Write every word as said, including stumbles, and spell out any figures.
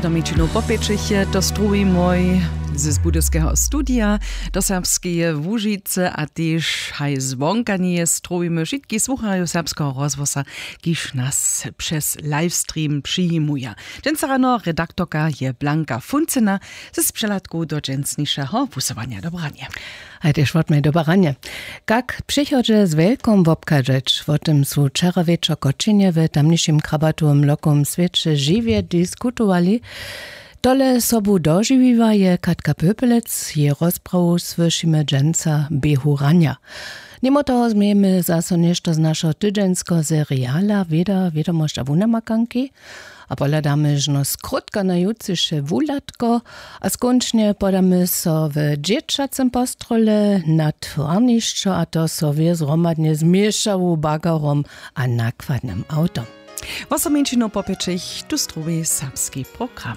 Domičinu popěčich je to strowimoj z budyskeho studija do serbskeje łužicy a tež haj zwonka njeje strowimy wšitkich słucharjow serbskeho rozhłosa, kiž nas přez livestream přijimuja. Dźensa rano redaktorka je Blanka Funcyna z přehladku do dźensnišeho wusyłanja. Dobranje. Haj tež wotmaj dobaranje. Kak w přichodźe z wjelkom wobchadźeć, wo tym su wčera wječor w kočinje w tamnišim krabatowym lokowym swěće žiwje diskutowali. Tole sobu dožiwiła je Katka Pöpelec. Jej rozprawu słyšimy dźensa w běhu ranja. Nimo toho změjemy zaso něšto z našeho tydźenskeho seriala wěda wědomosć a wunamakanki. A pohladamy žno skrótka na jutřiše wuhladko. A skónčnje podamy so w dźěćacym postrole na twarnišćo, a to so wě zhromadnje z měšawu bagarom a nakładnym awtom. Wosominčinu popěčich tu struwi serbski program.